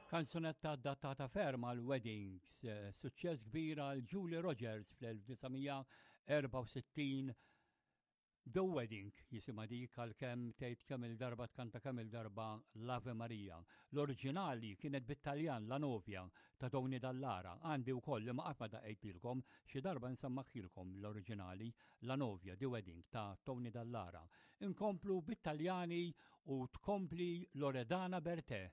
Kanzunetta adattata ferm għal weddings, eh, suċċess kbir għal Julie Rogers fl-1964 The Wedding jisimha dik għalkemm tgħid kemm il-darba tkanta kemm il-darba l-Ave Maria. L-oriġinali kienet bit-Taljan La Novia ta' Tony Dallara. Għandi wkoll li ma qatt ma daqqejtilkom xi darba nsemmaħilkom l-oriġinali La Novia The Wedding ta' Tony Dallara. Inkomplu bit-Taljani u tkompli Loredana Bertè.